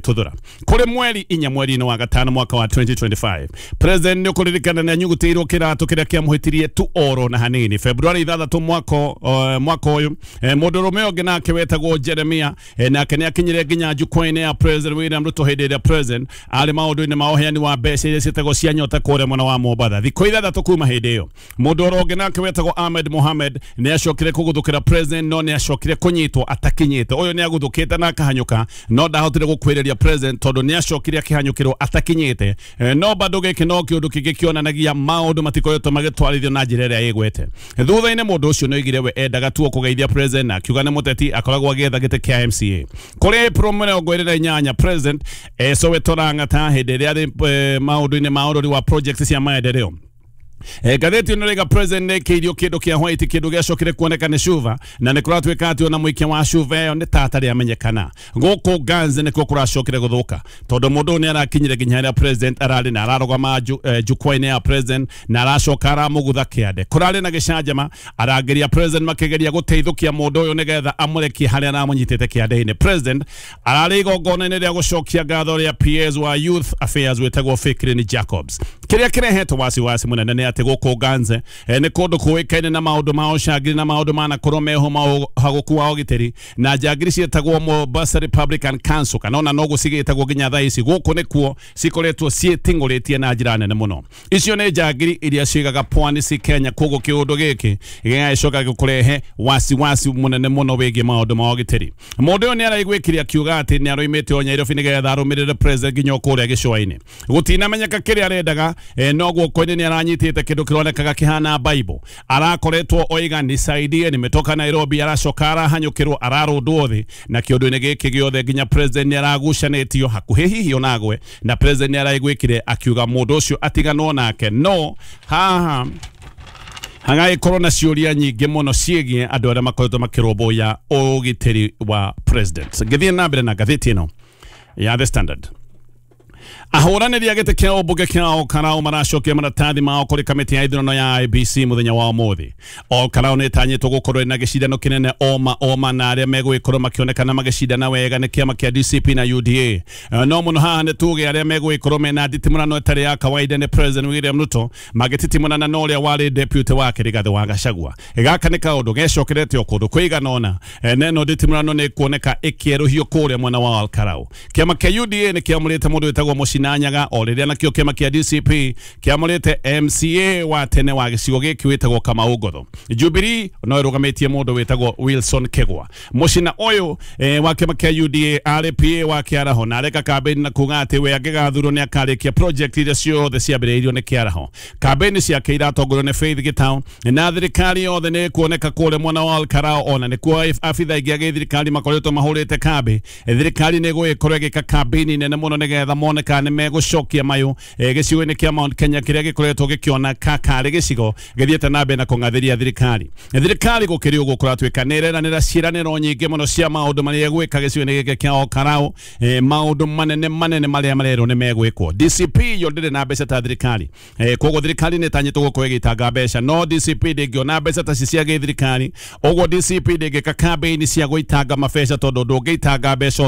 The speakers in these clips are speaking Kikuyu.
Tuthura kuri mweri inya mweri-inĩ wa gatano mwaka wa 2025 president nĩ ũkũririkana nĩ anyugutĩirwo kĩratũ kĩrĩa kĩamũhĩtirie tu oro na hanini February 6 mwaka ũyũ. Mũndũrũme ũngĩ nake wetagwo Jeremia, nake nĩ akinyire nginya jukwaa-inĩ ya President William Ruto hĩndĩ ĩrĩa president arĩ maũndũ-inĩ ma ũheani wa mbeca iria ciĩtagwo cia nyota kũrĩa mwena wa Mombatha. Thikũ 6 kuma hĩndĩ ĩyo mũndũ oro ũngĩ nake wetagwo Ahmed Mohamed nĩ acokire kũgũthũkĩra president, no nĩ acokire kũnyitwo atakinyĩte. Ũyũ nĩ agũthũkĩte na akahanyũka, no ndahotire gũkwĩrĩria president tondũ nĩ acokire akĩhanyũkĩrwo atakinyĩte. No bado gĩkĩ no kĩũndũ kĩngĩ kĩonanagia maũndũ matikoretwo magĩtwarithio na njĩra ĩrĩa ĩgwete. Thutha-inĩ mũndũ ũcio nĩ oigire we endaga tu kũgeithia president na akiuga nĩ mũteti akoragwo agĩetha gĩtĩ kĩa MCA. Kũrĩ April 28 president Soweto Lang'ata hĩndĩ ĩrĩa arĩ maũndũ-inĩ ma ũrori wa project cia maendeleo. Ngathĩti ĩno rĩga president nĩ ĩkĩirio kĩndũ kĩa white, kĩndũ gĩacokire kuoneka nĩ cuba, na nĩ kũratuĩka atĩ ona mũikia wa cuba ĩyo nĩ tata rĩamenyekana. Gũkũ Ganze nĩkuo kũracokire gũthũka tondũ mũndũ ũyũ nĩ arakinyire nginya harĩa president ararĩ na ararũgama jukwaa-inĩ ya president na aracoka aramũgutha kĩande. Kũrarĩ na gĩcanjama, arangĩria president makĩgeria gũteithũkia mũndũ ũyũ nĩgetha amũrekie harĩa aramũnyitĩte kĩande-inĩ. President ararĩ igongona-inĩ rĩa gũcokia ngatho rĩa PS wa Youth Affairs wĩtagwo Fikrini Jacobs. Kĩrĩa kĩrehetwo wasiwasi mũnene nĩ atĩ gũkũ Ganze nĩ kũndũ kũĩkaine na maũndũ ma ũcangiri na maũndũ manakorwo meho ma ũhagũku wa ũgitĩri, na njangiri ciĩtagwo Mombasa Republican Council kana ona no gũcigĩtagwo nginya thaa ici. Gũkũ nĩkuo cikoretwo ciĩting'ũrĩtie na njĩra nene mũno. Icio nĩ njangiri iria ciigaga pwani ci Kenya, koguo kĩũndũ gĩkĩ gĩgagĩcoka gĩkũrehe wasiwasi mũnene mũno wĩgiĩ maũndũ ma ũgitĩri. Mũndũ ũyũ nĩ araiguĩkire akiuga atĩ nĩ aroimĩte o Nairobi nĩgetha arũmĩrĩre president nginya kũrĩa gĩcũa-inĩ. Gũtinamenyeka kĩrĩa arendaga, no guoko-inĩ nĩ aranyitĩte kĩndũ kĩronekaga kĩhana Bible. Arakoretwo oiga nisaidie, nimetoka Nairobi, aracoka arahanyũkĩrwo ararũndwo thĩ, na kĩũndũ-inĩ gĩkĩ gĩothe nginya president nĩ aragucanĩtio hakuhĩ hihi onagwe, na president nĩ araiguĩkire akiuga mũndũ ũcio atiganwo nake. No haha hagagĩkorwo na ciũria nyingĩ mũno ciĩgiĩ andũ arĩa makoretwo makĩrũmbũiya ũgitĩri wa president. Ngĩthiĩ na mbere na ngathĩti ĩno ya The Standard, ahũranĩri a gĩtĩ kĩa ũmbunge kĩa Olkarau maracokia maratathi mao kũrĩ kamĩtĩ ya ithurano ya IEBC mũthenya wa ũmũthĩ. Olkarau nĩ ĩtanyĩtwo gũkorwo ĩna gĩcindano kĩnene oma oma, na arĩa megũgĩkorwo makĩonekana magĩcindana wega nĩ kĩama kĩa DCP na UDA. No mũno haha nĩ tuge arĩa megũgĩkorwo mena nditimũrano ĩtarĩ ya kawaida nĩ President William Ruto magĩtitimũrana na ũrĩa warĩ deputy wake Rigathĩ wa Gachagua. Gaka nĩ kaũndũ gecokerete o kũndũ kũigana ũna, neno nditimũrano nĩ ĩkuoneka ĩkĩerũhio kũrĩa mwena wa Olkarau. Kĩama kĩa UDA nĩ kĩamũrĩte mũndũ wĩtagwo Mũcina Nyaga, o rĩrĩa nakĩo kĩama kĩa DCP kĩamũrĩte MCA wa tene wa gĩcigo gĩkĩ wĩtagwo Kamau Ngotho. Jubilee no ĩrũgamĩtie mũndũ wĩtagwo Wilson Kegwa. Mũcina ũyũ wa kĩama kĩa UDA arĩ PA wa Kĩaraho na areka kambĩini na kuga atĩ we angĩgathurwo nĩ akarĩkia project iria ciothe ciambĩrĩirio nĩ Kĩaraho. Kambĩini ciake iratongorio nĩ Faith Gitau, na thirikari yothe nĩ ĩkuoneka kũrĩa mwena wa Olkarau, ona nĩkuo abitha aingĩ a gĩthirikari makoretwo mahũrĩte kambĩ. Thirikari nĩ ĩgũgĩkorwo ĩgĩka kambĩini nene mũno nĩgetha mone kana nĩ megũcokia mayũ gĩcigo-inĩ kĩa Mount Kenya kĩrĩa gĩkoretwo gĩkĩoneka karĩ gĩcigo gĩthiĩte na mbere na kũng'athĩria thirikari. Thirikari gũkĩrĩ ũguo kũratuĩka nĩ ĩreranĩra ciĩranĩro nyingĩ mũno cia maũndũ marĩa ĩgwĩka gĩcigo-inĩ gĩkĩ kĩa Olkarau, maũndũ manene manene marĩa marerwo nĩ megwĩkwo. DCP yo ndĩrĩ na mbeca ta thirikari, koguo thirikari nĩ ĩtanyĩtwo gũkorwo ĩgĩtanga mbeca, no DCP ndĩngĩona mbeca ta ci cia gĩthirikari. Ũguo DCP ndĩngĩka kambĩini cia gũitanga mabeca tondũ ndũngĩitanga mbeca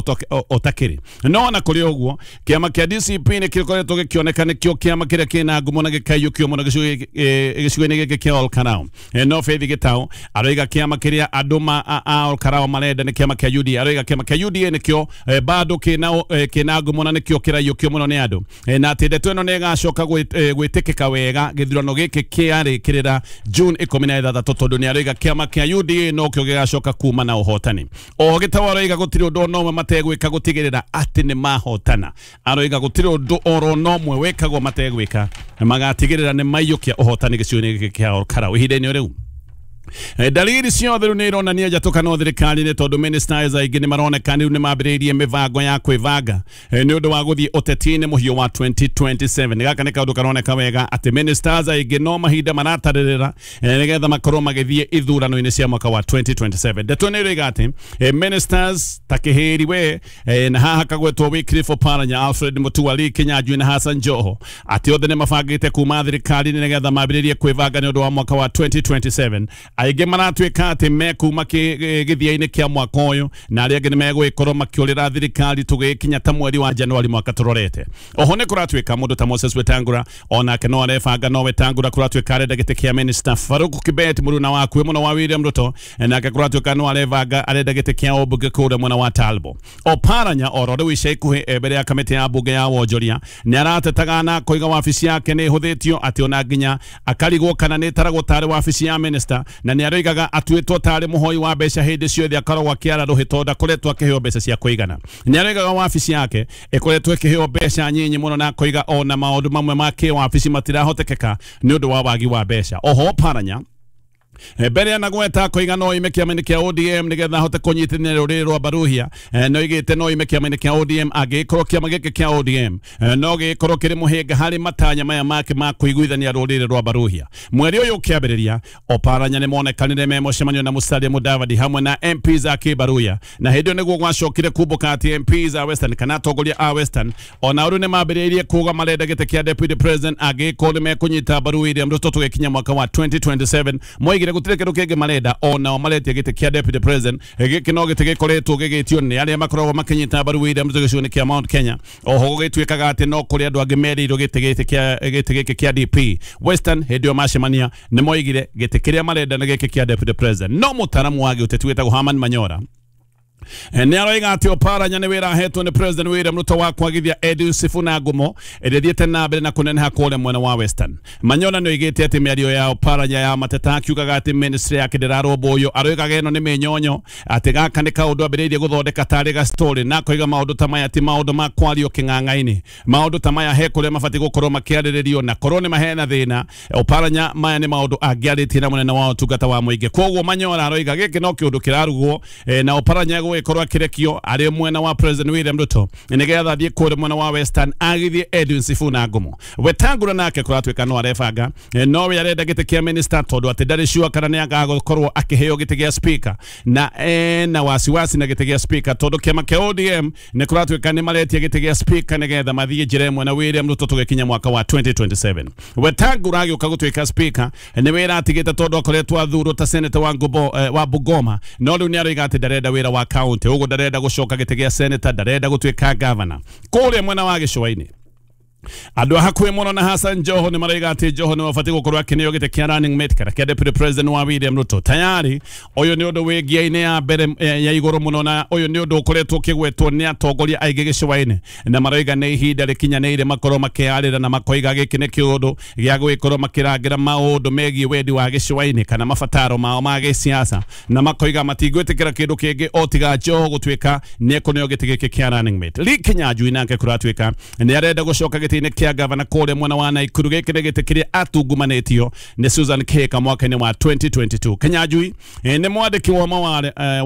ũtakĩrĩ. No ona kũrĩ ũguo kĩama kĩa DCP nĩ gĩkoretwo gĩkĩoneka nĩkĩo kĩama kĩrĩa kĩna ngumo na gĩkaiyũkio mũno gĩcigo-inĩ gĩkĩ kĩa Olkarau. No Faith Gitau aroiga kĩama kĩrĩa andũ a Olkarau marenda nĩ kĩama kĩa UDA. Aroiga kĩama kĩa UDA nĩkĩo bado kĩna ngumo na nĩkĩo kĩraiyũkio mũno nĩ andũ, na atĩ ndeto ĩno nĩ ĩgacoka gwĩtĩkĩka wega gĩthurano gĩkĩ kĩarĩkĩrĩra June 16 tondũ nĩ aroiga kĩama kĩa UDA nokĩo gĩgacoka kuma na ũhotani. O Gitau aroiga gũtirĩ ũndũ ona ũmwe mategwĩka gũtigĩrĩra atĩ nĩ mahotana. Aroiga gũtirĩ ũndũ oro na ũmwe wĩkagwo mategwĩka magatigĩrĩra nĩ maiyũkia ũhotani gĩcigo-inĩ gĩkĩ kĩa Olkarau ihinda-inĩ rĩu. Dalili ciothe rĩu nĩ ironania njatũkano thirikari-inĩ tondũ ministers aingĩ nĩ maroneka rĩu nĩ mambĩrĩirie mĩbango ya kwĩbanga nĩ ũndũ wa gũthiĩ ũteti-inĩ mũhiũ wa 2027. Gaka nĩ kaũndũ karoneka wega atĩ ministers aingĩ no mahinda maratarĩrĩra nĩgetha makorwo magĩthiĩ ithurano-inĩ cia mwaka wa 2027. Ndeto nĩ ĩroiga atĩ ministers ta Kĩhĩri we, na haha kagwetwo Wycliffe Oparanya, Alfred Mutua, Lee Kinyanjui na Hassan Joho, atĩ othe nĩ mabangĩte kuma thirikari-inĩ nĩgetha mambĩrĩrie kwĩbanga nĩ ũndũ wa mwaka wa 2027. Aingĩ maratuĩka atĩ mekuma gĩthia-inĩ kĩa mwaka ũyũ, na arĩa angĩ nĩ megũgĩkorwo makĩũrĩra thirikari tũgĩkinya ta mweri wa Januari mwaka tũrorete. Oho nĩ kũratuĩka mũndũ ta Moses Wetangula onake no arebanga, no Wetangula kũratuĩka arenda gĩtĩ kĩa minister. Farouk Kibet mũruna wakuĩ mũno wa William Ruto nake kũratuĩka no arebanga arenda gĩtĩ kĩa ũmbunge kũrĩa mwena wa Talbo. Oparanya oro rĩu ica ikuhĩ mbere ya kamĩtĩ ya mbunge ya wonjoria nĩ aratetaga na koiga wabici yake nĩ ĩhũthĩtio, atĩ ona nginya akarigwo kana nĩ ĩtaragwo tarĩ wabici ya minister, na nĩ aroigaga atuĩtwo tarĩ mũhoi wa mbeca hĩndĩ ciothe akoragwo akĩara rũhĩ tondũ ndakoretwo akĩheo mbeca cia kũigana. Nĩ aroigaga wabici yake ĩkoretwo ĩkĩheo mbeca nyinyi mũno, na akoiga ona maũndũ mamwe ma kĩwabici matirahotekeka nĩ ũndũ wa wagi wa mbeca. Oho Oparanya mbere anagweta koiga no ime kĩama-inĩ kĩa ODM nĩgetha ahote kũnyitithania rũrĩrĩ rwa Baruhia. No igĩte no ime kĩama-inĩ kĩa ODM angĩkorwo kĩama gĩkĩ kĩa ODM no gĩkorwo kĩrĩ mũhĩnga harĩ matanya maya make ma kũiguithania rũrĩrĩ rwa Baruhia. Mweri ũyũ ũkĩambĩrĩria, Oparanya nĩ monekanire me mũcemanio na Musalia Mudavadi hamwe na MPs a Kĩbaruhia, na hĩndĩ ĩyo nĩguo gwacokire kumbũka atĩ MPs a Western kana atongoria a Western ona rĩu nĩ mambĩrĩirie kuga marenda gĩtĩ kĩa deputy president angĩkorwo nĩ mekũnyita mbaru William Ruto tũgĩkinya mwaka wa 2027. Moigire gũtirĩ kĩndũ kĩngĩ marenda, onao maretia gĩtĩ kĩa deputy president. Gĩkĩ no gĩtĩ gĩkoretwo gĩgĩtio nĩ arĩa makoragwo makĩnyita mbaru William Ruto gĩcigo-inĩ kĩa Mount Kenya. Oho gũgĩtuĩkaga atĩ no kũrĩ andũ angĩ merĩirwo gĩtĩ gĩkĩ kĩa DP Western. Hĩndĩ ĩyo macemania nĩ moigire gĩtĩ kĩrĩa marenda nĩ gĩkĩ kĩa deputy president. No mũtaaramu wa gĩũteti wĩtagwo Herman Manyora nĩ aroiga atĩ Oparanya nĩ wĩra ahetwo nĩ President William Ruto wa kwagithia Edwin Sifuna ngumo ĩrĩa ĩthiĩte na mbere na kũneneha kũrĩa mwena wa Western. Manyora nĩ oigĩte atĩ mĩario ya Oparanya ya mateta akiugaga atĩ ministry yake ndĩrarũmbũywo, aroigaga ĩno nĩ mĩnyonyo, atĩ gaka nĩ kaũndũ ambĩrĩirie gũthondeka tarĩ ga story, na akoiga maũndũ ta maya ti maũndũ ma kwario kĩng'ang'a-inĩ. Maũndũ ta maya he kũrĩa mabatiĩ gũkorwo makĩarĩrĩrio, na korwo nĩ mahena thĩna Oparanya maya nĩ maũndũ angĩarĩtie na mũnene wa ũtungata wa mũingĩ. Kwoguo Manyora aroiga gĩkĩ no kĩũndũ kĩrarugwo, na Oparanya gũgĩkorwo akĩrekio arĩ mwena wa President William Ruto nĩgetha athiĩ kũrĩa mwena wa Western agithie Edwin Sifuna ngumo. Wetangula nake kũratuĩka no arebanga, no we arenda gĩtĩ kĩa minister tondũ atĩ ndarĩ sure kana nĩ agagũkorwo akĩheo gĩtĩ gĩa speaker, na ena wasiwasi na gĩtĩ gĩa speaker tondũ kĩama kĩa ODM nĩ kũratuĩka nĩ maretia gĩtĩ gĩa speaker nĩgetha mathiĩ njĩra ĩmwe na William Ruto tũgĩkinya mwaka wa 2027. Wetangula agĩũka gũtuĩka speaker nĩ wĩra atigĩte tondũ akoretwo athurwo ta senator wa Bungoma, no rĩu nĩ aroiga atĩ ndarenda wĩra wa county, ũguo ndarenda gũcoka gĩtĩ gĩa senator, ndarenda gũtuĩka governor. Kũrĩa mwena wa gĩcũa-inĩ andũ a hakuhĩ mũno na Hassan Joho nĩ maroiga atĩ Joho nĩ wabatiĩ gũkorwo akĩneo gĩtĩ kĩa running mate kana kĩa deputy president wa William Ruto. Tayari ũyũ nĩ ũndũ wĩ ngia-inĩ ya mbere ya igũrũ mũno, na ũyũ nĩ ũndũ ũkoretwo ũkĩgwetwo nĩ atongoria aingĩ gĩcũa-inĩ, na maroiga nĩ ihinda rĩkinyanĩire makorwo makĩarĩra na makoiga gĩkĩ nĩ kĩũndũ gĩa gũgĩkorwo makĩrangĩra maũndũ megiĩ wendi wa gĩcũa-inĩ kana mabataro mao ma gĩsiasa, na makoiga matingwĩtĩkĩra kĩndũ kĩngĩ o tiga Joho gũtuĩka nĩ ekũneo gĩtĩ gĩkĩ kĩa running mate. Lee Kinyanjui nake kũratuĩka nĩ arenda gũcoka gĩtĩ-inĩ kĩa gavana kũrĩa mwena wa Nakuru. Gĩkĩ nĩ gĩtĩ kĩrĩa atungumanĩtio nĩ Susan Kihika mwaka-inĩ wa 2022. Kinyanjui nĩ mwandĩki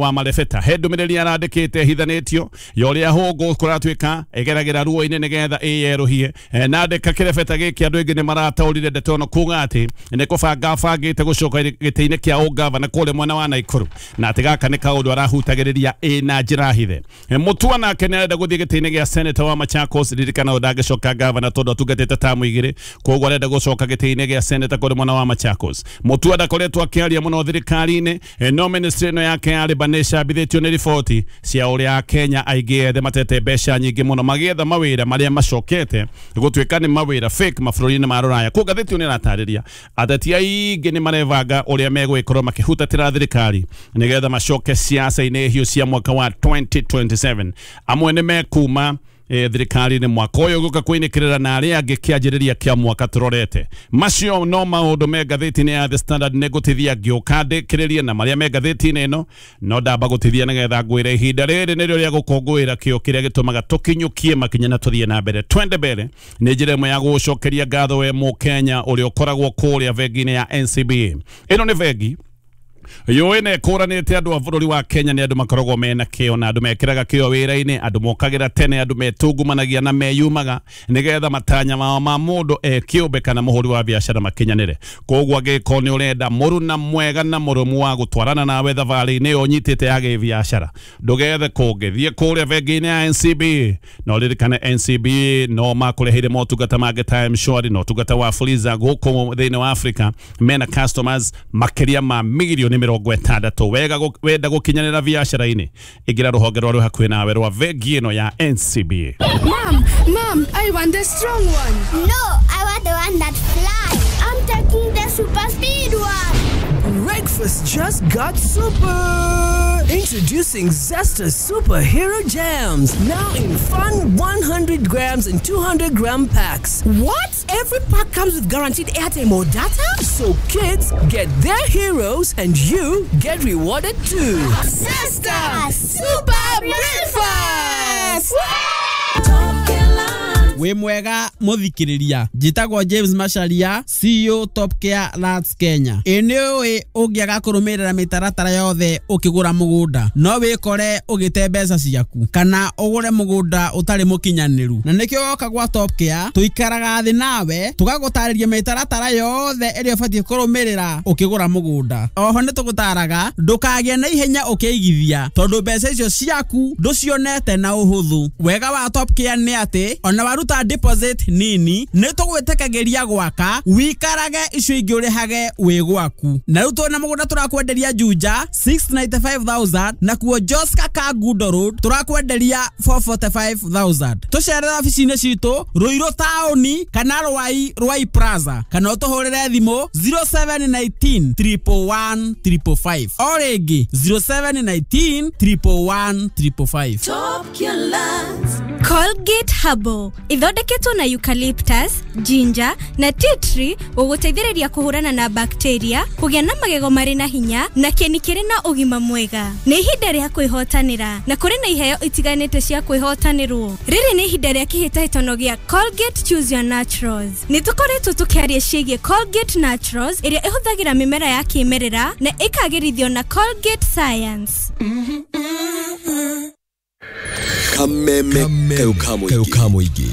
wa marebeta, he ndũmĩrĩri arandĩkĩte ĩhithanĩtio ya ũrĩa hũngũ kũratuĩka ĩgeragĩra ruo-inĩ nĩgetha ĩyerũhie, na andĩka kĩrebeta gĩkĩ andũ aingĩ nĩ marataũrire ndeto ĩno kuga atĩ nĩ kũbanga abangĩte gũcoka gĩtĩ-inĩ kĩa ũgavana kũrĩa mwena wa Nakuru, na atĩ gaka nĩ kaũndũ arahutagĩrĩria ĩ na njĩra hithe. Mutua nake nĩ arenda gũthiĩ gĩtĩ-inĩ gĩa senator wa Machakos, ririkana ũyũ ndangĩcoka gavana tondũ atungatĩte tamu igĩrĩ, koguo arenda gũcoka gĩtĩ-inĩ gĩa senator kũrĩ mwena wa Machakos. Mutua ndakoretwo akĩaria mũno thirikari-inĩ, no ministry ĩno yake ya Labour nĩ ĩcabithĩtio nĩ riboti cia ũrĩa Akenya aingĩ ethĩ matete mbeca nyingĩ mũno magĩetha mawĩra marĩa macokete gũtuĩka nĩ mawĩra fake mabũrũri-inĩ ma rũraya. Koguo ngathĩti ĩyo nĩ ĩratarĩria ateti aingĩ nĩ marebanga ũrĩa megũgĩkorwo makĩhutatĩra thirikari nĩgetha macoke siasa-inĩ hiũ cia mwaka wa 2027. Amwe nĩ mekuma thirikari-inĩ mwaka ũyũ gũka kwĩnĩkĩrĩra na arĩa angĩ kĩanjĩrĩria kĩa mwaka tũrorete. Macio no maũndũ me ngathĩti-inĩ ya The Standard. Nĩ ngũtithia ngĩũka ndĩkĩrĩrie na marĩa me ngathĩti-inĩ ĩno, no ndamba gũtithia nĩgetha ngwĩre ihinda rĩrĩ nĩrĩo rĩa gũkũngũĩra kĩo kĩrĩa gĩtũmaga tũkinyũkie makinya na tũthiĩ na mbere. Twende mbere nĩ njĩra ĩmwe ya gũgũcokeria ngatho we Mũkenya ũrĩa ũkoragwo kũrĩa bengi-inĩ ya NCBA. Ĩno nĩ bengi Yũĩ kũranĩte andũ a bũrũri wa Kenya nĩ andũ makoragwo mena kĩo na andũ mekĩraga kĩo wĩra-inĩ, andũ mokagĩra tene, andũ metungumanagia na meyumaga nĩgetha matanya mao ma mũndũ kĩũmbe kana mũhũri wa biacara makinyanĩre. Koguo angĩkorwo nĩ ũrenda mũruna mwega na mũrũmu wa gũtwarana nawe thabarĩ-inĩ ĩyo ũnyitĩte ya gĩbiacara, ndũgethe kũngĩ, thiĩ kũrĩa bengi-inĩ ya NCB. Na ũririkane NCB no makũreheire motungata mangĩ ta M-Shwari na ũtungata wa Fuliza gũkũ thĩinĩ wa Africa. Mena customers makĩria ma mirioni 60. Wega wenda gũkinyanĩra biacara-inĩ, ingĩra rũhonge rwa rwĩ hakuhĩ nawe rwa bengi ĩno ya NCB. Mom, Mom, I want the strong one. No, I want the one that flies. I'm taking the super speed one. Breakfast just got super. Introducing Zesta Superhero Jams, now in fun 100 grams and 200 gram packs. What? Every pack comes with guaranteed airtime or data? So kids get their heroes and you get rewarded too. Zesta Super Breakfast! Wĩ mwega mũthikĩrĩria, njĩtagwo James Macharia, CEO Top Care Lands Kenya. Ĩ nĩ ũĩ ũngĩaga kũrũmĩrĩra mĩtaratara yothe ũkĩgũra mũgũnda no wĩkore ũgĩte mbeca ciaku kana ũgũre mũgũnda ũtarĩ mũkinyanĩru, na nĩkĩo woka gwa Top Care tũikaraga thĩ nawe tũgagũtarĩria mĩtaratara yothe ĩrĩa ũbatiĩ kũrũmĩrĩra ũkĩgũra mũgũnda. Oho nĩ tũgũtaraga ndũkagĩe na ihenya ũkĩigithia tondũ mbeca icio ciaku ndũcionete na ũhũthũ. Wega wa Top Care nĩ atĩ ona waruta deposit nini nĩ tũgwĩtĩkagĩria gwaka wikarage icio ingĩ ũrĩhage wĩ gwaku. Na rĩu twĩna mũgũnda tũrakwenderia Juja 695,000 na kuo Joska Kangundo Road tũrakwenderia 445,000. Tũcerere obici-inĩ citũ Ruiru taũni kana Rwai Rwai Plaza kana ũtũhũrĩre thimũ 0719 111 555 o rĩngĩ 0719 111 555. Top Care Lands. Colgate Herbal ithondeketwo na eucalyptus, ginger na tea tree gũgũteithĩrĩria kũhũrana na bacteria, kũgĩa na magego marĩ na hinya na kĩni kĩrĩ na ũgima mwega. Nĩ ihinda rĩa kwĩhotanĩra na kũrĩ na iheo itiganĩte cia kwĩhotanĩrwo. Rĩrĩ nĩ ihinda rĩa kĩhĩtahĩtano gĩa Colgate Choose Your Naturals. Nĩ tũkoretwo tũkĩaria ciĩgiĩ Colgate Naturals ĩrĩa ĩhũthagĩra mĩmera ya kĩmerera na ĩkagĩrithio na Colgate Science. Kameme kayo muingi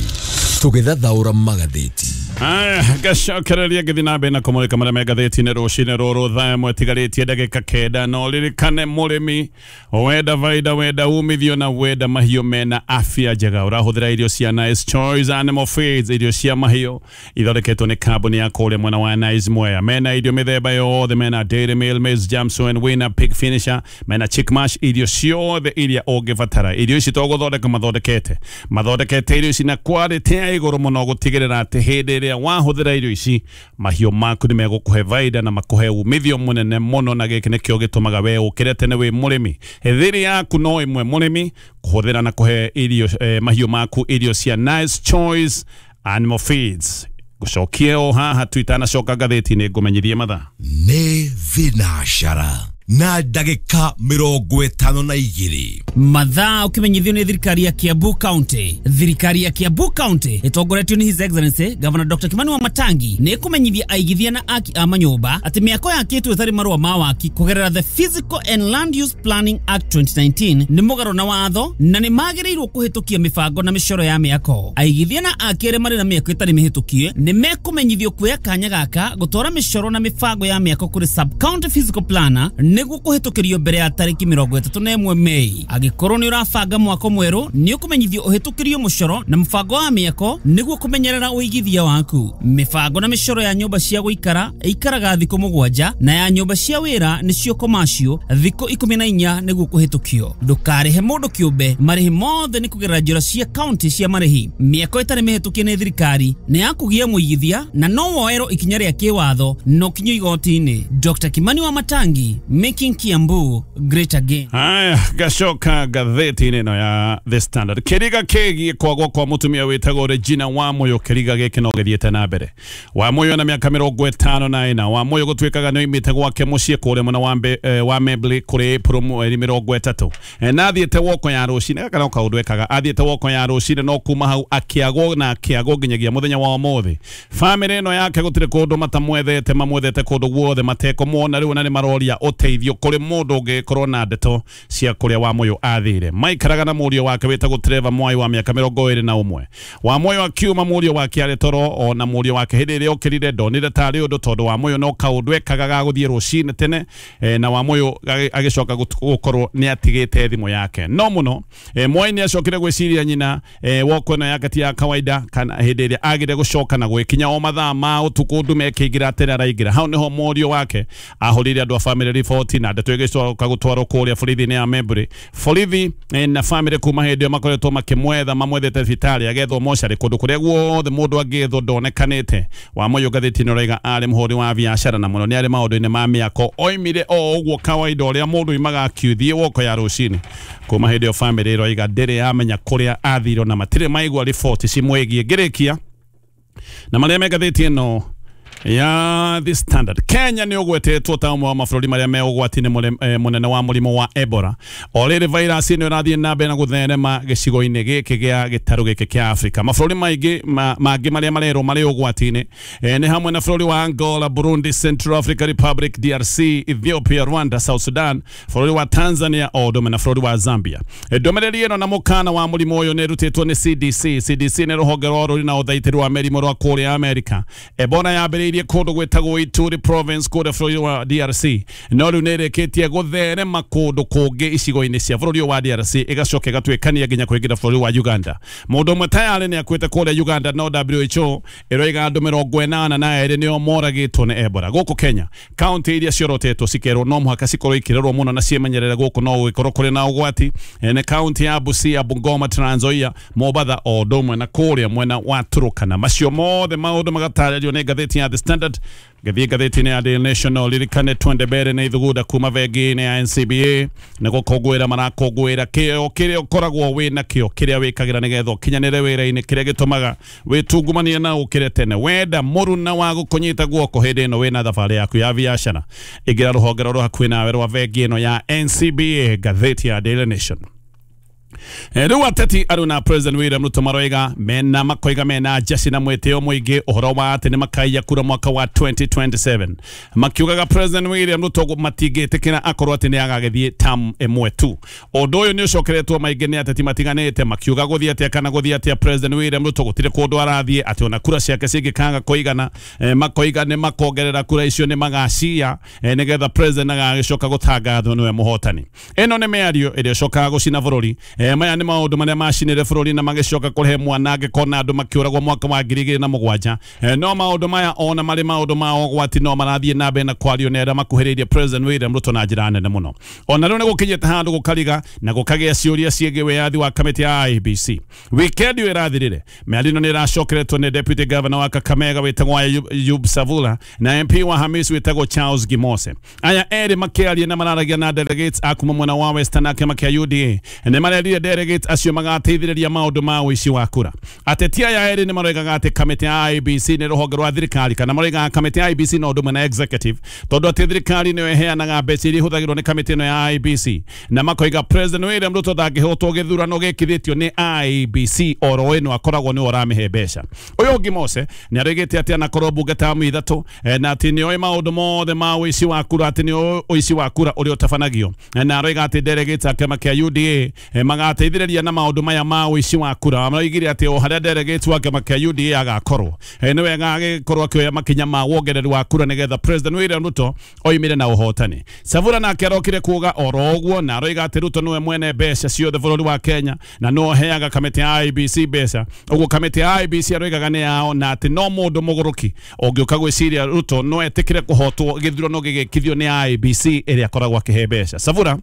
tugithathaura magatheti. Gacokereria ngĩthiĩ na mbere na kũmũrĩka marĩa me ngathĩti-inĩ rũcinĩ rũrũ thaa ĩmwe ĩtigarĩtie ndagĩka 9. No ririkane mũrĩmi wenda baida, wenda umithio na wenda mahiũ mena afya njega, ũrahũthĩra irio cia Nice Choice Animal Feeds, irio cia mahiũ ithondeketwo nĩ kambuni ya kũrĩa mwena wa Nice Mwea. Mena irio mĩthemba yothe, mena Dairy Meal, Maize Jamson, Winner, Pig Finisher, mena Chick Mash, irio ciothe iria ũngĩbatara. Irio ici to gũthondeka mathondekete irio ici na quality ya igũrũ mũno gũtigĩrĩra atĩ hĩndĩ ĩrĩa wahũthĩra irio ici mahiũ maku nĩ megũkũhe baida na makũhe umithio mũnene mũno, na gĩkĩ nĩkĩo gĩtũmaga we ũkĩre tene wĩ mũrĩmi. Thiri yaku no ĩmwe mũrĩmi, kũhũthĩra na kũhe irio mahiũ maku irio cia Nice Choice Animal Feeds. Gũcokie o haha tu itanacoka ngathĩti-inĩ ngũmenyithie mathaa. Nĩ thinacara na ndagĩka 52. Mathaa ũkĩmenyithio nĩ thirikari ya Kiambu County. Thirikari ya Kiambu County ĩtongoretio nĩ His Excellency Governor Dr. Kimani Wamatangi nĩ ĩkũmenyithia aigithia na aki a manyũmba atĩ mĩako yakĩtwo ĩtarĩ marũa ma waki kũgerera the Physical and Land Use Planning Act 2019 nĩ mũgarũ na watho na nĩ magĩrĩirwo kũhĩtũkia mĩbango na mĩcoro ya mĩako. Aigithia na aki arĩa marĩ na mĩako ĩtarĩ mĩhĩtũkie nĩ mekũmenyithio kuoya kanya gaka gũtwara mĩcoro na mĩbango ya mĩako kũrĩ sub county physical planner nĩguo kũhĩtũkĩrio mbere ya tarĩki 31 Mei. Angĩkorwo nĩ ũrabanga mwako mwerũ nĩ ũkũmenyithio ũhĩtũkĩrio mũcoro na mũbango wa mĩako nĩguo kũmenyerera ũigithia waku. Mĩbango na mĩcoro ya nyũmba cia gũikara ĩikaraga thikũ 7 na ya nyũmba cia wĩra nĩcio commercial thikũ 14 nĩguo kũhĩtũkio. Ndũkarĩhe mũndũ kĩũmbe, marĩhi mothe nĩ kũgerera njĩra cia county cia marĩhi. Mĩako ĩtarĩ mĩhĩtũkie nĩ thirikari nĩ ya kũgia mũigithia na no woerwo ikinya rĩa kĩwatho no kinyo igoti-inĩ. Dr. Kimani Wamatangi, making Kiambu great again. Haya, gacoka ngathĩti-inĩ ĩno ya The Standard. Kĩriga kĩgiĩ kwagwo kwa mũtumia wĩtagwo Regina Wamuyu, kĩriga gĩkĩ no gĩthiĩte na mbere. Wamuyu na mĩaka 54, Wamuyu gũtuĩkaga nĩ oimĩte gwake mũciĩ kũrĩa mwena wa Membley kũrĩ April mweri 30. Na athiĩte woko ya rũcinĩ, gaka no kaũndũ ekaga, athiĩte woko ya rũcinĩ no kuma hau akĩagwo na akĩagwo nginyagia mũthenya wa ũmũthĩ. Bamĩrĩ ĩno yake gũtirĩ kũndũ matamwethete, mamwethete kũndũ guothe matekũmuona rĩu na nĩ maroria ũteithio. ũteithio kũrĩ mũndũ ũngĩkorwo na ndeto cia kũrĩa Wamuyu athire. Maikaraga na mũriũ wake wĩtagwo Trevor Mwai wa mĩaka 21. Wamuyu akiuma mũriũ wake arĩ toro, ona mũriũ wake hĩndĩ ĩrĩa okĩrire ndonire tarĩ ũndũ tondũ Wamuyu no kaũndũ ekaga ga gũthiĩ rũcinĩ tene, na Wamuyu agĩcoka gũkorwo nĩ atigĩte thimũ yake. No mũno Mwai nĩ acokire gwĩciria nyina woko ĩno yake ti ya kawaida, kana hĩndĩ ĩrĩa agire gũcoka na gwĩkinya o mathaa ma ũtukũ ndume ĩkĩingĩra tene araingĩra. Hau nĩho mũriũ wake ahũrĩire andũ a family riboti na ndeto ĩgĩcoka gũtwarwo kũrĩa borithi-inĩ ya Membry. Borithi na family kuma hĩndĩ ĩyo makoretwo makĩmwetha, mamwethete thibitarĩ agethwo mocarĩ kũndũ kũrĩa guothe mũndũ angĩethwo ndonekanĩte. Wamuyu ngathĩti-inĩ ũraiga arĩ mũhũri wa biacara na mũno nĩ arĩ maũndũ-inĩ ma mĩako, oimire o ũguo kawaida ũrĩa mũndũ oimaga akiuthiĩ woko ya rũcinĩ. Kuma hĩndĩ ĩyo family ĩroiga ndĩrĩ yamenya kũrĩa athirwo na matirĩ maigua riboti cimwĩgiĩ. Ngĩrĩkia na marĩa me ngathĩti ĩno ya The Standard. Kenya nĩ ũgwetetwo ta ũmwe wa mabũrũri marĩa me ũgwati-inĩ mũnene wa mũrimũ wa Ebola. O rĩrĩ virus ĩno ĩrathiĩ na mbere na gũtherema gĩcigo-inĩ gĩkĩ gĩa gĩtarũ gĩkĩ kĩa Afrika. Mabũrũri maingĩ mangĩ marĩa marerwo marĩ ũgwati-inĩ nĩ hamwe na bũrũri wa Angola, Burundi, Central African Republic, DRC, Ethiopia, Rwanda, South Sudan, bũrũri wa Tanzania o ũndũ ũmwe na bũrũri wa Zambia. Ndũmĩrĩri ĩno na mũkana wa mũrimũ ũyũ nĩ ĩrutĩtwo nĩ CDC. CDC nĩ rũhonge rwa rũrĩ na ũthaitĩri wa mĩrimũ rwa kũrĩa Amerika. Ebola yambĩrĩirie kũndũ gwĩtagwo Ituri province kũrĩa bũrũri wa DRC, no rĩu nĩ ĩrĩkĩtie gũtherema kũndũ kũngĩ icigo-inĩ cia bũrũri wa DRC, ĩgacoka ĩgatuĩkania nginya kũingĩra bũrũri wa Uganda. Mũndũ ũmwe tayarĩ nĩ akuĩte kũrĩa Uganda, no WHO ĩroiga andũ 82 nĩo moragĩtwo nĩ Ebola. Gũkũ Kenya, kaunti iria ciorotetwo cikerwo no mũhaka cikorwo ikĩrorwo mũno na ciĩmenyerere gũkũ no gũgĩkorwo kũrĩ na ũgwati nĩ kaunti ya Busia, Bungoma, Trans Nzoia, Mombatha o ũndũ ũmwe na kũrĩa mwena wa Turkana. Macio mothe maũndũ magatarĩrio nĩ ngathĩti ya The Standard. Gĩthiĩ ngathĩti-inĩ ya Daily National, ririkane twende mbere na ithugunda kuma bengi-inĩ ya NCBA nĩ gũkũngũĩra marakũngũĩra kĩo kĩrĩa ũkoragwo wĩ nakĩo, kĩrĩa wĩkagĩra nĩgetha ũkinyanĩre wĩra-inĩ, kĩrĩa gĩtũmaga wĩtungumanie na ũkĩre tene. Wenda mũruna wa gũkũnyita guoko hĩndĩ ĩno wĩna thabarĩ yaku ya biacara, ingĩra rũhonge rũrũ hakuhĩ nawe rwa bengi ĩno ya NCBA. Ngathĩti ya Daily Nation. Rĩu ateti arũ na President William Ruto maroiga mena makoiga mena njeci na mwĩtĩo mũingĩ ũhoro wa atĩ nĩ makaiya kura mwaka wa 2027, makiugaga President William Ruto matingĩtĩkĩra akorwo atĩ nĩ agagĩthiĩ term ĩmwe tu. Ũndũ ũyũ nĩ ũcokeretwo maingĩ nĩ ateti matiganĩte makiuga gũthiĩ atĩa kana gũthiĩ atĩa President William Ruto gũtirĩ kũndũ arathiĩ, atĩ ona kura ciake cingĩkaga kũigana makoiga nĩ makongerera kura icio nĩ magacia nĩgetha President agagĩcoka gũtangathwo nĩwe mũhotani. Ĩno nĩ mĩario ĩrĩa ĩcokaga gũcina bũrũri. Maya nĩ maũndũ marĩa macinire bũrũri na magĩcoka kũrehe mwanangĩko na andũ makĩũragwo mwaka wa 2007. No maũndũ maya ona marĩ maũndũ ma ũgwati no marathiĩ na mbere na kwario nĩ arĩa makuhĩrĩirie President William Ruto na njĩra nene mũno. Ona rĩu nĩ gũkinyĩte handũ gũkariga na gũkagĩa ciũria ciĩgiĩ wĩyathi wa kamĩtĩ ya IEBC. Weekend ĩyo ĩrathirire, mĩario ĩno nĩ ĩracokeretwo nĩ Deputy Governor wa Kakamega wĩtagwo Ayub Savula na MP wa Hamis wĩtagwo Charles Gimose. Aya erĩ makĩaria na mararagia na delegates a kuma mwena wa Western na kĩama kĩa UDA nĩ marerire delegates acio magateithĩrĩria maũndũ ma ũici wa kura. Ateti aya erĩ nĩ maroigaga atĩ kamĩtĩ ya IEBC nĩ rũhonge rwa thirikari, kana maroigaga kamĩtĩ ya IEBC no ũndũ ũmwe na executive, tondũ atĩ thirikari nĩyo ĩheanaga mbeca iria ihũthagĩrwo nĩ kamĩtĩ ĩno ya IEBC, na makoiga President William Ruto ndangĩhotwo gĩthurano gĩkithĩtio nĩ IEBC oro ĩno akoragwo nĩwe ũramĩhe mbeca. Ũyũ ũngĩ Mose nĩ aroigĩte atĩ anakorwo mbunge tamu ithatũ na atĩ nĩoĩ maũndũ mothe ma ũici wa kura, atĩ nĩoĩ ũici wa kura ũrĩa ũtabanagio, na aroiga atĩ delegates a kĩama kĩa UDA magateithĩrĩria na maũndũ maya ma ũici wa kura. Maroigire atĩ o harĩa delegates wa kĩama kĩa UDA agakorwo nĩ wega agĩkorwo akĩoya makinya ma wongereru wa kura nĩgetha President William Ruto oimire na ũhotani. Savula nake arokire kuuga oro ũguo na aroiga atĩ Ruto nĩwe mwene mbeca ciothe bũrũri wa Kenya na no heaga kamĩtĩ ya IEBC mbeca. Ũguo kamĩtĩ ya IEBC aroigaga nĩ yao na atĩ no mũndũ mũgũrũki ũngĩũka gwĩciria Ruto no etĩkĩre kũhotwo gĩthurano gĩgĩkithio nĩ IEBC ĩrĩa akoragwo akĩhe mbeca. Savula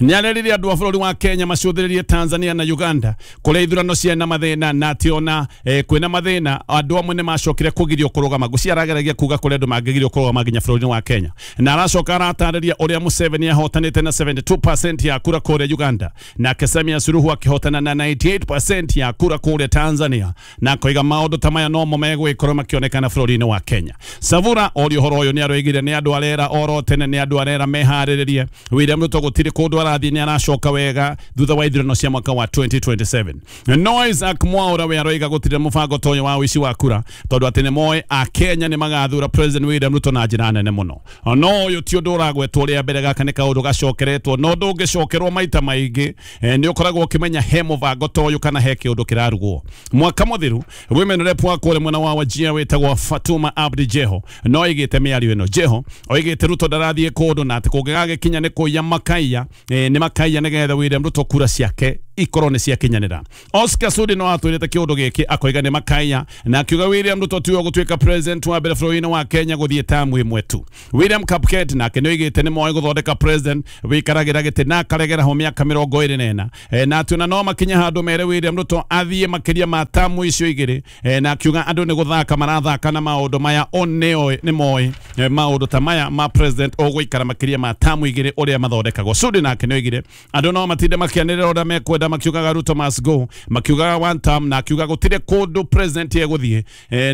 nĩ arerire andũ a bũrũri wa Kenya macũthĩrĩrie Tanzania na Uganda kũrĩa ithurano ciana mathĩna na atĩ ona kwĩna mathĩna andũ amwe nĩ macokire kũgirio kũrũgama. Ngũcia arageragia kuga kũrĩa andũ mangĩgirio kũrũgama nginya bũrũri-inĩ wa Kenya, na aracoka aratarĩria ũrĩa Museveni ahotanĩte na 72% ya kura kũrĩa Uganda, nake Samia Suluhu akĩhotana na 98% ya kura kũrĩa Tanzania, na akoiga maũndũ ta maya nomo megũgĩkorwo makĩonekana bũrũri-inĩ wa Kenya. Savula orio ũhoro ũyũ nĩ aroigire nĩ andũ arera oro tene, nĩ andũ arera meharĩrĩrie William Ruto gũtirĩ gũtirĩ kũndũ arathiĩ nĩ aracoka wega thutha wa ithurano cia mwaka wa 2027. No Isaac Mwaura we aroiga gũtirĩ mũbango ta ũyũ wa ũici wa kura tondũ atĩ nĩ moĩ a Kenya nĩ magathura President William Ruto na njĩra nene mũno. No ũyũ ti ũndũ ũragwetwo rĩa mbere, gaka nĩ kaũndũ gacokeretwo no ndũngĩcokerwo maita maingĩ. Nĩ ũkoragwo ũkĩmenya he mũbango ta ũyũ kana he kĩũndũ kĩrarugwo. Mwaka mũthiru women rep wa kũrĩa mwena wa Wajir wĩtagwo Fatuma Abdi Jeho no oigĩte mĩario ĩno. Jeho oigĩte Ruto ndarathiĩ kũndũ na atĩ kũngĩgagĩkinya nĩ kũiya makaiya, nĩ makaiya nĩgetha William Ruto kura ciake ikorwo nĩ ciakinyanĩra. Oscar Sudi no atwĩrĩte kĩũndũ gĩkĩ akoiga nĩ makaiya na akiuga William Ruto tiwe gũtuĩka president wa mbere bũrũri-inĩ wa Kenya gũthiĩ tamu ĩmwe tu. William Kapket nake nĩ oigĩte nĩ moĩ gũthondeka president wĩikaragĩra gĩtĩ na akaregera ho mĩaka 24, na atĩ ona no makinye handũ mere William Ruto athiĩ makĩria ma tamu icio igĩrĩ, na akiuga andũ nĩ gũthaka marathaka na maũndũ maya o nĩ moĩ maũndũ ta maya ma president ũgũikara makĩria ma tamu igĩrĩ ũrĩa mathondekagwo. Sudi nake nĩ oigire andũ no matinde makĩanĩrĩra ũrĩa mekwenda makiugaga Ruto must go, makiugaga one term, na akiuga gũtirĩ kũndũ president egũthiĩ,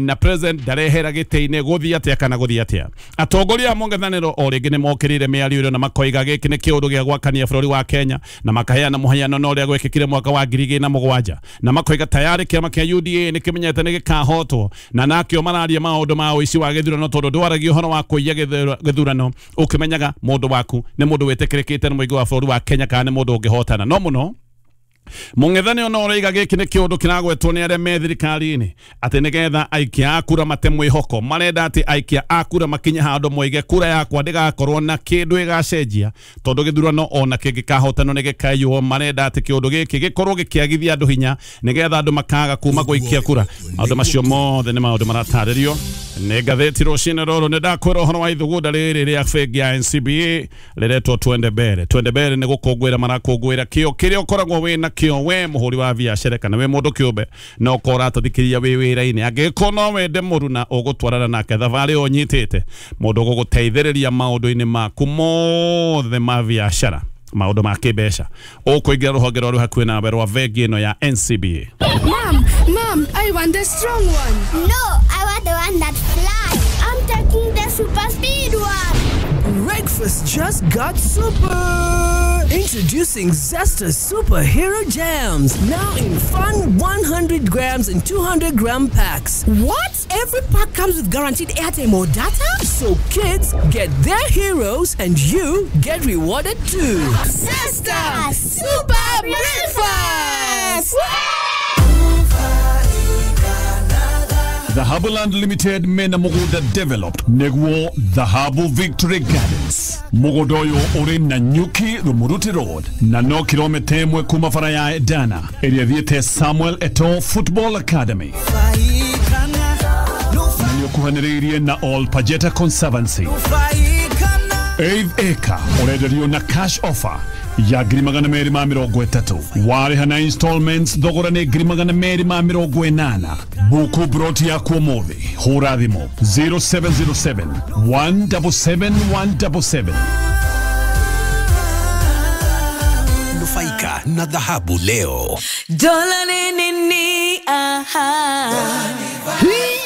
na president ndarehera gĩtĩ-inĩ gũthiĩ atĩa kana gũthiĩ atĩa. Atongoria a mũng'ethanĩro o rĩngĩ nĩ mokĩrĩire mĩario ĩno na makoiga gĩkĩ nĩ kĩũndũ gĩa gwakania bũrũri wa Kenya na makaheana mũhiano na ũrĩa gwekĩkire mwaka wa 2007 na makoiga tayarĩ kĩama kĩa UDA nĩ kĩmenyete nĩ gĩkahotwo na nakĩo mararia maũndũ ma ũici wa gĩthurano tondũ ndwaragia ũhoro wa kũiya gĩthurano ũkĩmenyaga mũndũ waku nĩ mũndũ wĩtĩkĩrĩkĩte nĩ mũingĩ wa bũrũri wa Kenya kana nĩ mũndũ ũngĩhotana. No mũno mũng'ethanĩro no ũroiga gĩkĩ nĩ kĩũndũ kĩragwetwo nĩ arĩa me thirikari-inĩ atĩ nĩgetha aikia a kura mate mwĩhoko. Marenda atĩ aikia a kura makinye handũ moige kura yakwa ndĩgakorwo na kĩndũ ĩgacenjia tondũ gĩthurano ona kĩngĩkahotanwo nĩ gĩkaiywo. Marenda atĩ kĩũndũ gĩkĩ gĩkorwo gĩkĩagithia andũ hinya nĩgetha andũ makaga kuma gũikia kura. Maũndũ macio mothe nĩ maũndũ maratarĩrio nĩ ngathĩti rũcinĩ rũrũ. Nĩ ndakwĩra ũhoro wa ithugunda rĩrĩ rĩa bengi ya NCBA rĩretwo Twende Mbere. Twende Mbere nĩ gũkũngũĩra marakũngũĩra kĩo kĩrĩa ũkoragwo wĩna kĩo we mũhũri wa biacara kana we mũndũ kĩũmbe na ũkorwo ũratũthikĩrĩria wĩ wĩra-inĩ. Angĩkorwo no wende mũruna ũgũtwarana nake thabarĩ ĩyo ũnyitĩte, mũndũ ũgũgũteithĩrĩria maũndũ-inĩ maku mothe ma biacara, maũndũ ma kĩmbeca, ũkũingĩra rũhonge rwa rwĩ hakuhĩ nawe rwa bengi ĩno ya NCBA. Mom, I want the strong one. No, I want the one that flies. I'm taking the super speed one. Breakfast just got super. Introducing Zesta Superhero Jams, now in fun 100 grams and 200 gram packs. What? Every pack comes with guaranteed airtime or data? So kids get their heroes and you get rewarded too. Zesta Super Breakfast! Dhahabu Land Limited mena mugunda developed neguo Dhahabu Victory Gardens. Mugunda uyu uri na Nyuki Rumuruti Road na no kilomita 1 kuma bara ya Edana ĩrĩa thiĩte Samuel Eto'o Football Academy. Na nĩũkuhanĩrĩirie na All Pajeta Conservancy. 8 acre ũrenderio na cash offer ya 230,000 warĩha na installments thogora nĩ 280,000. Buku broti yaku ũmũthĩ, hũra thimũ 0707 177 177. Nufaika na dhahabu leo. Dola nini aha.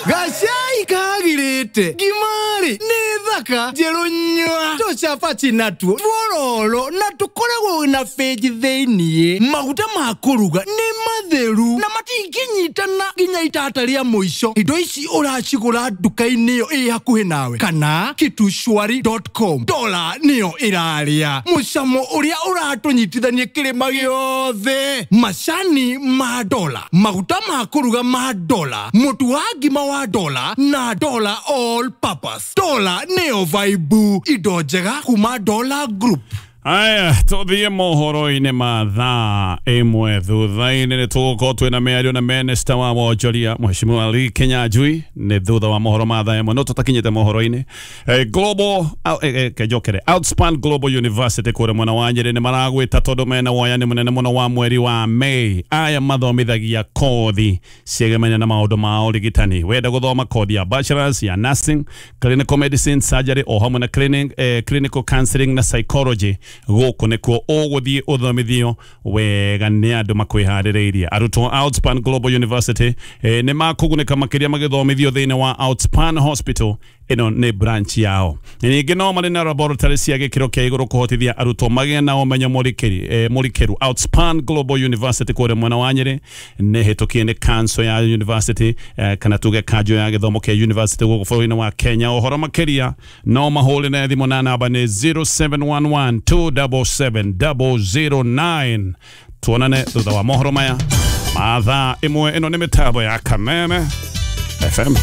Gacai kagirite ngimari nĩ thaka njerũ nyua tũcabaci natuo twororo na tũkoragwo na benji thĩiniĩ. Maguta ma kũruga nĩ matheru na matingĩnyitana nginya itata rĩa mũico. Indo ici ũracigũra nduka-inĩ ĩyo ĩ hakuhĩ nawe kana kitushwari.com. Dola nĩyo ĩrarĩa mũcamo ũrĩa ũratũnyitithania kĩrĩma gĩothe. Macani ma dola, maguta ma kũruga ma dola, mũtu wa ngima wa dola na dola all purpose. Dola nĩyo vibe, indo njega kuma Dola Group. Aya, tũthiĩ mohoro-inĩ ma thaa 1 thutha-inĩ nĩ tũgũkorwo twĩna mĩario na minista wa wonjoria Mheshimiwa Lee Kinyanjui nĩ thutha wa mohoro ma thaa 1 no tũtakinyĩte mohoro-inĩ. Global kejokere Outspan Global University kũrĩa mwena wa Nyĩrĩ nĩ maragwĩta tondũ mena woyani mũnene mũno wa mweri wa May. Aya mathomithagia kothi ciegemania na maũndũ ma ũrigitani. Wenda gũthoma kothi ya bachelors ya nursing, clinical medicine, surgery o hamwe na clinical counseling na psychology. Gũkũ nĩkuo ũgũthiĩ ũthomithio wega nĩ andũ makwĩharĩrĩirie. Arutwo Outspan Global University nĩ makũgunĩka makĩria magĩthomithio thĩinĩ wa Outspan Hospital Ĩno nĩ branch yao. Ningĩ no marĩ na laboratory cia gĩkĩro kĩa igũrũ kũhotithia arutwo magĩe na ũmenyo mũrikĩru. Outspan Global University kũrĩa mwena wa Nyĩrĩ nĩ hĩtũkie nĩ council ya university, kana tuge kanjũ ya gĩthomo kĩa university gũkũ bũrũri-inĩ wa Kenya. Ũhoro makĩria no mahũrĩre thimũ na namba nĩ 0711 277 009. Tuonane thutha wa mohoro maya ma thaa 1. Ĩno nĩ mĩtambo ya Kameme FM.